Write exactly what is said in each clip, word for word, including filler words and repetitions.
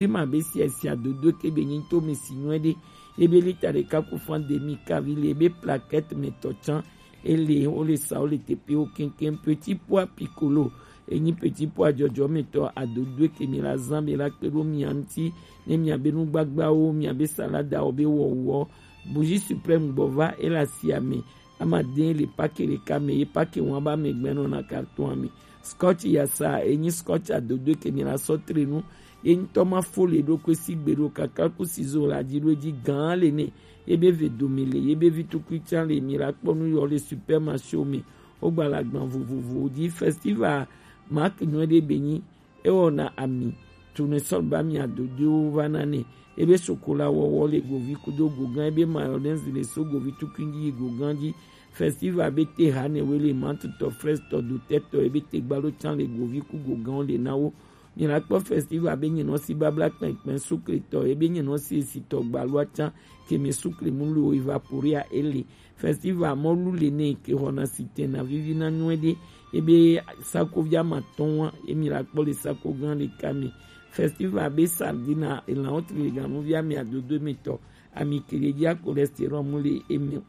Prima be si esi adodo ke be nyi to mi si nyuɛ ɖe. Ebe lita ɖeka ku fan demi kavi le ebe plaquette me tɔ can. Ele o le sa o le tepe o kenken petit pois piccolo. Enyi petit pois jɔjɔ me tɔ adodo ke mi la zan be la kpe ɖo mia ŋuti ne mia be nugbagbawo, mia be salada wo be wɔwɔ. Bougie suprême gbɔ va ele asi ame. Ama de le pake ɖeka me ye pake wan ba me gbɛnɔ na carton ame. Scotch yasa enyi scotch adodo ke mi la sɔ tre nu. Ye ŋutɔ ma fo le ɖo kwe si gbe ɖo kaka ku sizo la dzi ɖo edzi gã le ne. Ye be ve dome le ye be vi tukui can le mi la kpɔ nu yɔ le supermarché me. Wo gba la gban vovovo dzi festival mark nyuɛ ɖe be nyi. Ewɔ na ami tune sɔn ba mi adodowo va na ne. Ebe sokola wɔwɔ le govi kudo gogan ebe mayonnaise le so govi tukui dzi yi gogan dzi. Festival be te ha ne we le mantutɔ frestɔ dotɛtɔ ebe te gbalo can le govi ku gogan le na wo. Mi la kpɔ festival be nyinɔ si babla kpɛnkpɛn sukletɔ ebe nyinɔ si esitɔ gbaloa can keme sukle mu lo evaporea ele. Festival mɔlu le ne ke xɔna sitɛn na vivi na nyuɛ ɖe. Ebe sakovi ama tɔn wa emi la kpɔ le sako gan ɖeka me. Festival be sardine elan wotri le ganuvi ami adodo emetɔ ami kele dia cholestérol mu le eme.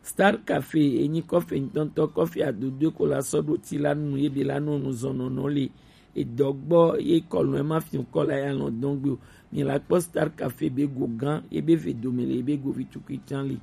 Star Café enyi kɔfe ŋutɔŋutɔ kɔfe adodo ko la sɔ ɖo ti la nu ebe la nɔ nu zɔnɔnɔ le edɔ gbɔ ye kɔlɔn ema fi kɔ la ya lɔn dɔn gbe o. Mi la kpɔ Star Café be go gan ye be ve dome le ye be go vi tukui can le.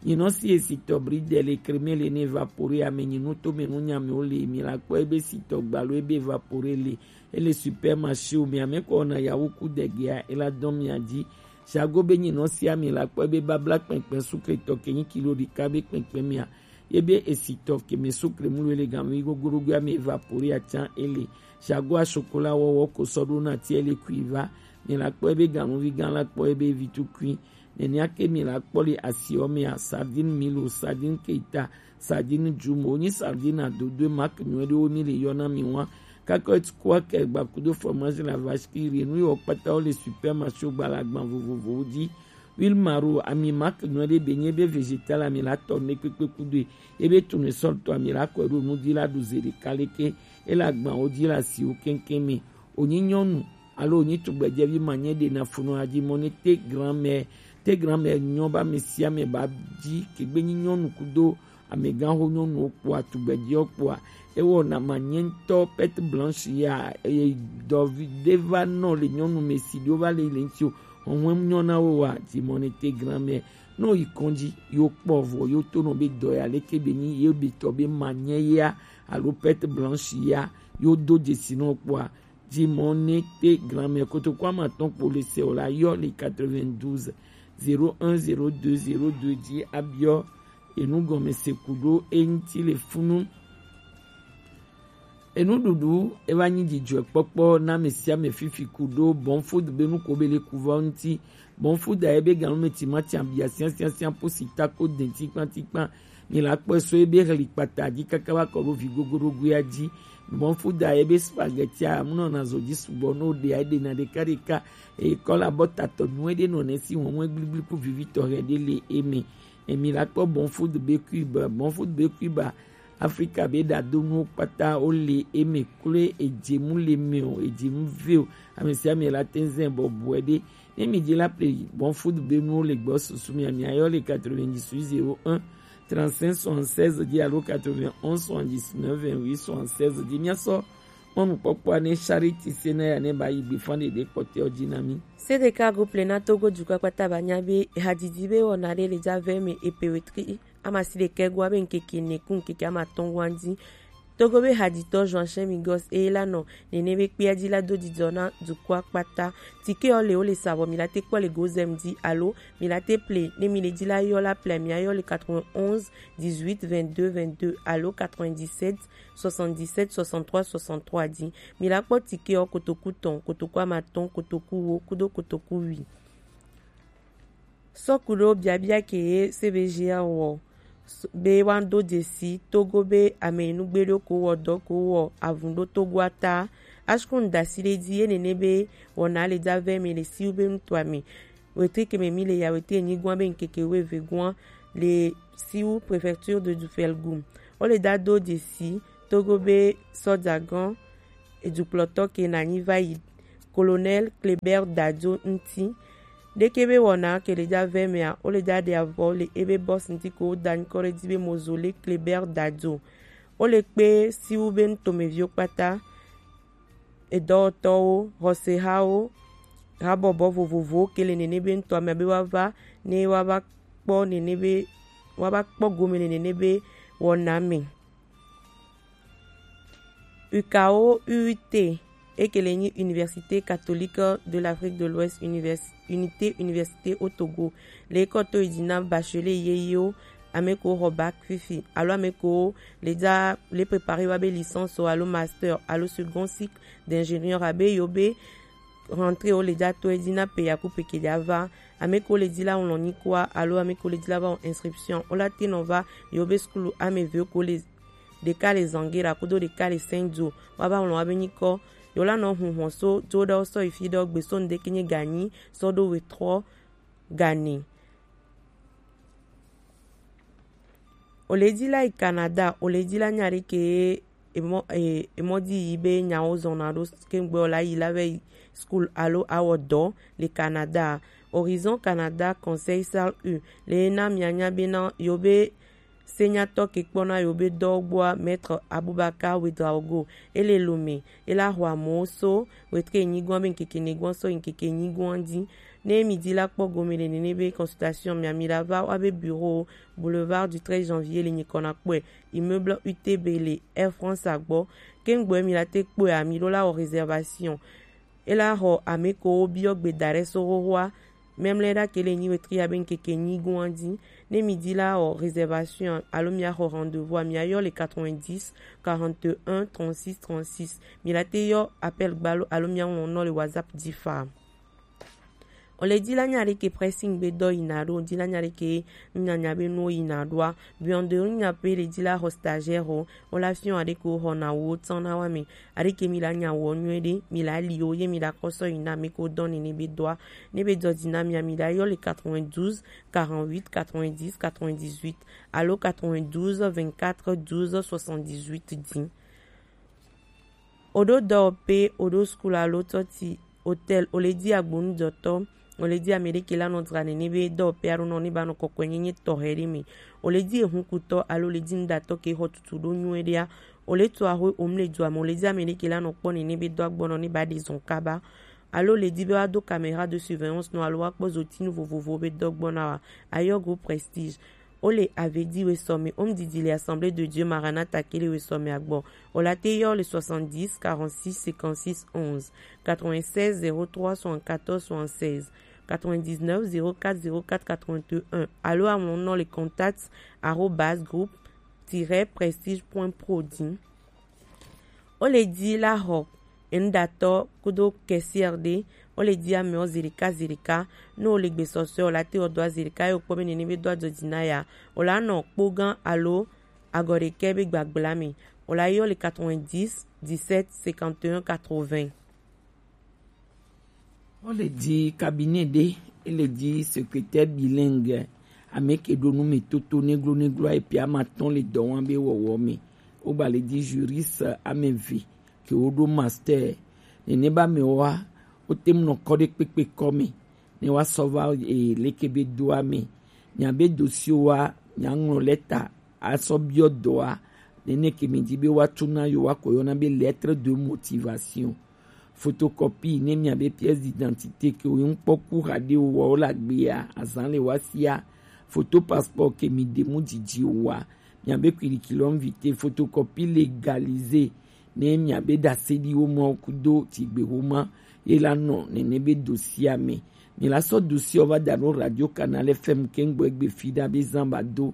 Nyinɔ si esi tɔ bridel le crème le ne évaporé ame nyinu to me nu nya me o le mi la kpɔ ebe si tɔ gbalo ebe évaporé le ele supermarché o mi ame kɔ na yawu ku degea ela dɔn mi adzi. Jago be nyinɔ si ami la kpɔ ebe babla kpɛnkpɛn sukle tɔ ke nyi kilo ɖeka be kpɛnkpɛn mia. Ye be esi tɔ ke me sukle mu le gan mi gogodogo ami évaporé atsan ele. Jago asokola wɔwɔ ko sɔ ɖo na ti ele kui va. Mi la kpɔ ebe ganuvi gan la kpɔ ebe vi tukui. Nenea ke mi la kpɔ le asiɔ mea, sardine milo, sardine keita, sardine jumo, nyi sardine adodo marque nyuie ɖewo mi le yɔna mi wa. Kakɔ ti kua kɛ gba kudo fromage la vache qui rit, nu yɔ kpata wo le supermarché gba la gban vovovowo dzi. Huile maro, ami marque nyuie ɖe be nye be végétal ami la tɔ ne kpekpe kudo e. Ebe tournesol tɔ ami la kɔ ɖo nu dzi la ɖu ze ɖeka leke. E la gban wo dzi la si wo keŋkeŋ mi. Onyi nyɔnu alo wonyi tugbedzɛvi ma nye ɖe na funɔ adzi mɔ ne te grand-mère, te grand-mère nyɔ ba ame sia ame ba dzi kegbe nyi nyɔnu kudo amegãxo nyɔnuwo kpoa tugbedzɛwo kpoa ewɔ na ma nye ŋutɔ perte blanche ya eye dɔvi ɖe va nɔ le nyɔnu me si ɖewo va le le ŋuti o hɔnhɔn nyɔ na wo wa dzi mɔ ne te grand-mère no yi kɔndzi yo kpɔ vɔ yo to nɔ be dɔ ya leke be nyi ye be tɔ be ma nye ya alo perte blanche ya yo do dzesi nɔ kpoa Jimɔ ne te granmɛ kotoku ama tɔn kpo le se o la yɔ le quatre-vingt-douze zéro un zéro deux zéro deux dzi abiɔ enu gɔme se ku ɖo eŋti le funu. Enuɖuɖu eva nyi dzidzɔkpɔkpɔ na ame sia ame fifi ku ɖo bɔn food be nu ko be le ku va ŋti. Bɔn food a ebe ganu me timati abia sia sia sia po si tako den tikpan tikpan. Mi la kpɔe so ebe hli kpata dzi kaka va kɔ ɖo vi gogoɖogoea dzi. Mɔ fu da ebe spaghetti a munɔ na zɔ dzi sugbɔ no ɖe a ɖe na ɖeka ɖeka. E kɔ la bɔ tatɔ nu eɖe nɔ ne si wɔn mɔ gbligbliku vivi tɔxɛ ɖe le eme. Emi la kpɔ bɔn fu de be kuiba, bɔn fu de be kuiba. Afrika be ɖa do nuwo kpata wo le eme klo edze mu le me o, edze mu ve o. Ame sia ame la te zɛ bɔ bɔe ɖe. Ne mi dzi la ple bɔn fu de be nuwo le gbɔ susu mi a mi ayɔ le quatre-vingt-dix-huit zéro un trente-cinq soixante-seize dzi alo quatre-vingt-onze soixante-dix-neuf vingt-huit soixante-seize dzi. Míasɔ mɔnukpɔkpɔa ne Charity Senaya ne ba yi gbe fan ɖeɖe kpɔtɛwo dzi na mí. Sedeka go ple na Togo dukɔ kpata ba nya be hadidi be wɔna ɖe le dza vɛ me epe wetri amasi ɖekɛ gua be ŋkeke ne ku ŋkeke amatɔn gua dzi. Togo be hadzitɔ Joachim Migos eye la nɔ nene be kpea dzi la do dzidzɔ na dukɔa kpata. Tikewo le wo le sa vɔ mi la te kpɔ le gozem dzi alo mi la te ple ne mi le dzi la yɔ la ple mi ayɔ le quatre-vingt-onze dix-huit vingt-deux vingt-deux alo quatre-vingt-dix-sept soixante-dix-sept soixante-trois soixante-trois dzi. Mi la kpɔ tikewo kotoku tɔn, kotoku amatɔn, kotoku wo kudo kotoku wi. Sɔkuɖo biabia ke ye C V G A wɔ be wa do dzesi Togo be ame nugbe ɖo ko wɔ dɔ ko wɔ avun ɖo Togoa ta. Ashkun dasi ɖe dzi ye nene be wɔna le dza vɛ mi le siwu be nutɔa mi. Wetri ke me mi le ya wetri enyi gua be ŋkeke weve gua le siwu préfecture de Dufelgum. Wo le da do dzesi Togo be sɔdza gɔn edukplɔtɔ ke na nyi va yi Colonel Kléber Dadio ŋuti. Ɖeke be wɔna ke le dza vɛ mea, wo le dza ɖe avɔ le ebe boss ŋuti ko wo da nyikɔ ɖe dzi be Mozole Kléber Dadio. Wo le kpe siwu be nutomeviwo kpata, edɔwɔtɔwo, xɔsehawo, habɔbɔ vovovowo ke le nene be ŋutɔ ame be woava ne woava kpɔ nene be woava kpɔ gome le nene be wɔna me. U K O U U T, eke le nyi Université Catholique de l'Afrique de l'Ouest, Univers-, Unité Université au Togo, le kɔ to yi dzi na bachelier yeyewo, ame ko xɔ bac fifi alo ame ko le dza le préparer wa be licence alo master alo second cycle d'ingénieur abe yo be rentrée wo le dza to edzi na pe yaku pe ke dza va, ame ko le dzi la ŋlɔ nyikɔa alo ame ko le dzi la va wɔ inscription, wo la te nɔ va yo be sukulu ame ve ko le ɖeka le Zangera kudo ɖeka le Saint-Dzo. Wa va ŋlɔ wa be nyikɔ. Yo la nɔ hun hɔn so dzo ɖe sɔ yi fi ɖe gbe so ŋdeke nye ganyi sɔ ɖo we trɔ gani. O le dzi la yi Canada, o le dzi la nya ɖe ke emɔ e, emɔ dzi yi be nyawo zɔna ɖo kengbe o la yi la vɛ yi school alo awɔ dɔ le Canada. Horizon Canada Conseil Salle U le na mianya be na yo be senyatɔ ke kpɔna yo be dɔ gbɔa, Maître Abubakar Ouedraogo, ele Lomé, ela xɔ amewo so wetre nyigɔn be ŋkeke nyigɔn so ŋkeke nyigɔn dzi. Ne mi di la kpɔ gome le nene be consultation mia mi la va wa be bureau boulevard du treize janvier le nyikɔ na kpɔe, immeuble U T B le Air France agbɔ. Kengbe mi la te kpɔe a mi ɖo la wɔ réservation. Ela xɔ ame ko wo biɔ gbe da ɖe so xoxoa. Memle ɖa ke le nyi wetri abe ŋkeke nyigoa dzi. Ne mi di la wɔ réservation alo mia xɔ rendez-vous a, mia yɔ le quatre-vingt-dix, quarante et un, trente-six, trente-six. Mi la te yɔ appel gbalo alo mia ŋlɔ nɔ le WhatsApp dzi fa. O le di la nya ɖe ke pressing be dɔ yina ɖo, di la nya ɖe ke nya nya be nuwo yina ɖoa, bureau de nya pe le di la xɔ stagiaire o, o la fiɔ aɖe ko xɔ na wo tsan na wa me. Aɖe ke mi la nya wɔ nyuie ɖe, mi la li wo ye mi la kɔ sɔ yi na mi ko dɔ nene be dɔa. Ne be dɔ di na mia, mi la yɔ le quatre-vingt-douze, quarante-huit, quatre-vingt-dix, quatre-vingt-dix-huit alo quatre-vingt-douze, vingt-quatre, douze, soixante-dix-huit di. O ɖo dɔwɔƒe, o ɖo school alo tɔti, hôtel, o le di agbonudɔtɔ, o le di ame ɖe ke la nɔ dzra nene be dɔwɔƒe alo nɔ ne ba nɔ kɔkɔe nyenye tɔxɛ ɖe me. O le di ehunkutɔ alo le di nuɖatɔ ke xɔ tutu ɖo nyuie ɖea, o le to axwe o mle dua me, o le di ame ɖe ke la nɔ kpɔ nene be dɔ agbɔnɔ ne ba ɖe zɔn kaba. Alo le di be wa do caméra de surveillance nɔ alo wa kpɔ zotinu vovovo be dɔ gbɔna wa, ayɔ go Prestige. O le Avedi Wesɔme, home didi le Assemblée de Dieu Maranatha ke le Wesɔme agbɔ. O la te yɔ le soixante-dix, quarante-six, cinquante-six, onze, quatre-vingt-seize, zéro trois, soixante-quatorze, soixante-seize, quatre-vingt-dix-neuf, zéro quatre, zéro quatre, quatre-vingt-un. Alo aŋlɔ nɔ le contact arobase groupe tiret prestige point pro di. O le di la xɔ enuɖatɔ kudo kɛsiɛr ɖe, o le di amewo zi ɖeka zi ɖeka. Ne o le gbesɔsɔe o la te o dɔ zi ɖeka ye o kpɔ be nene be do adzɔ dzi na ya, o la nɔ kpo gã alo agɔ ɖekɛ be gbagbla me. O la yɔ le quatre-vingt-dix, dix-sept, cinquante et un, quatre-vingts. Wo le di cabinet ɖe, e le di secrétaire bilingue, ame ke ɖo nu me toto neglo neglo ayi pia ma tɔn le dɔ wɔm be wɔwɔ me. Wo gba le di juriste ame eve ke wo ɖo master. Nene ba me wa, wo te mu nɔ kɔ ɖe kpekpe kɔ me. Ne wa sɔ va e leke be doa me. Mia be dossier wa, mia ŋlɔ lɛta asɔ biɔ dɔa, nene ke mi di be wa tu na yo wa ko yɔna be lettre de motivation. Photocopie ne mia be pièce d'identité ke wo ŋkpɔ ku xa ɖe wo wa wo la gbea, azan le wa sia. Photo passeport ke mi de mu didi wa, mia be curriculum vitae, photocopie légalisée, ne mia be ɖase ɖi wo ma kudo tigbe wo ma, ye la nɔ nene be dossier me. Mi la sɔ dossier va da ɖo Radio Canal F M ke ŋgbɔ egbe fi ɖa be zan ba do.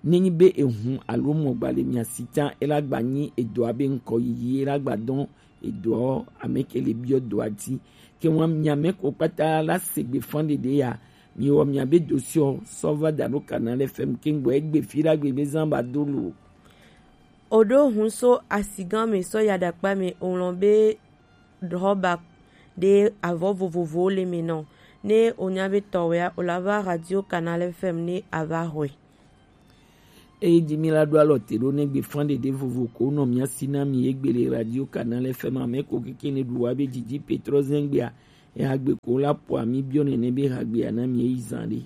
Ne nyi be ehun alo mɔ gba le mia si ta, e la gba nyi edɔa be ŋkɔ yiyi, e la gba dɔn edɔ ame ke le biɔ dɔa di. Ke wa mia me ko kpata la se gbe fan ɖeɖe ya, mi wɔ mia be dossier sɔ va da ɖo Canal F M ke ŋgbɔ egbe fi ɖa gbe be zan ba do lo. O ɖo hun so asigã me sɔ ya ɖakpa me o ŋlɔ be ɖɔba ɖe avɔ vovovowo le me nɔ. Ne o nya be tɔwɛa o la va Radio Canal F M ne a va xɔe. Eyi ji mi la ɖo alɔ te ɖo ne gbe fan ɖeɖe vovo ko nɔ mia si na mi egbe le radio Canal F M a me ko keke ne ɖu wa be jiji petro zengbe a. Eya gbe ko la po ami biɔ nene be ha gbe a na mi eyi zan ɖe.